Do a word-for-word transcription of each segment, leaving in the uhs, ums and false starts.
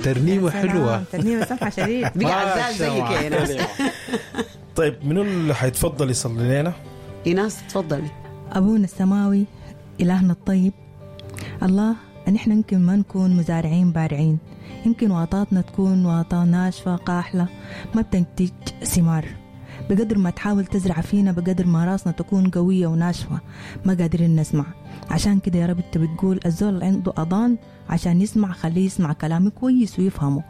ترنيمة يا سلام، حلوة. ترنيمة سمحه شديد. بقى عزاز زيك يا ايناس. طيب، منو اللي حيتفضل يصلي لنا؟ ايناس تفضلي. أبونا السماوي، إلهنا الطيب، الله، نحن يمكن ما نكون مزارعين بارعين، يمكن واطاتنا تكون واطا ناشفة قاحلة ما بتنتج ثمار. بقدر ما تحاول تزرع فينا، بقدر ما راسنا تكون قوية وناشفة، ما قادرين نسمع. عشان كده يا رب انت بتقول الزول اللي عنده أضان عشان يسمع خليه يسمع كلامي كويس ويفهمه.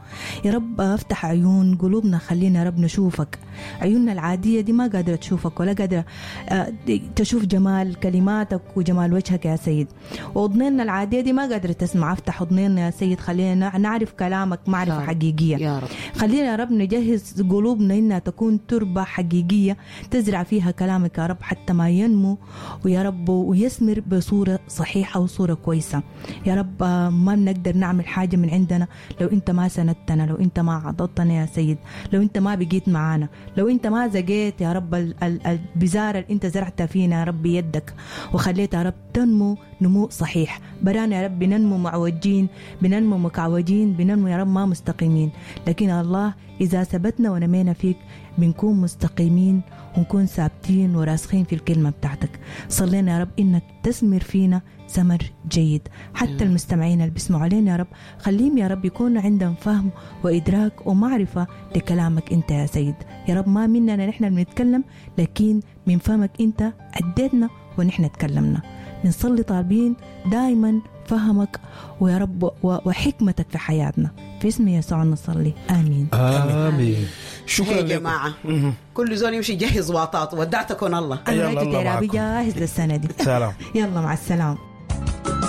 يا رب افتح عيون قلوبنا، خلينا يا رب نشوفك. عيوننا العادية دي ما قادرة تشوفك ولا قادرة آه، تشوف جمال كلماتك وجمال وجهك يا سيد، وأذننا العادية دي ما قادرة تسمع. افتح أذننا يا سيد، خلينا نعرف كلامك معرفة يا رب. حقيقية. يا رب. خلينا يا رب نجهز قلوبنا إنها تكون تربة حقيقية تزرع فيها كلامك يا رب، حتى ما ينمو ويا رب ويثمر بصورة صحيحة وصورة كويسة. يا رب آه، ما بنقدر نعمل حاجة من عندنا لو أنت ما سندتنا، لو أنت ما عضدتنا يا سيد، لو أنت ما بقيت معانا، لو أنت ما زقيت يا رب ال- ال- البزارة اللي أنت زرعتها فينا يا رب يدك وخليتها يا رب تنمو نمو صحيح. برانا يا رب بننمو معوجين، بننمو مكعوجين، بننمو يا رب ما مستقيمين، لكن الله إذا ثبتنا ونمينا فيك بنكون مستقيمين ونكون ثابتين وراسخين في الكلمة بتاعتك. صلينا يا رب إنك تثمر فينا ثمر جيد. حتى المستمعين اللي بيسمعوا علينا يا رب، خليهم يا رب يكون عندهم فهم وإدراك ومعرفة لكلامك أنت يا سيد. يا رب ما مننا نحن بنتكلم، لكن من فمك أنت أديتنا ونحن تكلمنا. بنصلي طالبين دايما فهمك ويا رب و- وحكمتك في حياتنا. في اسم يسوع نصلي، آمين. آمين. شكرا يا لكم. جماعة، كل زول يمشي يجهز واطاته. ودعتكم الله. أنا يلا رايت الله تيرابي معكم. جاهز للسنة دي. سلام. يلا مع السلامة.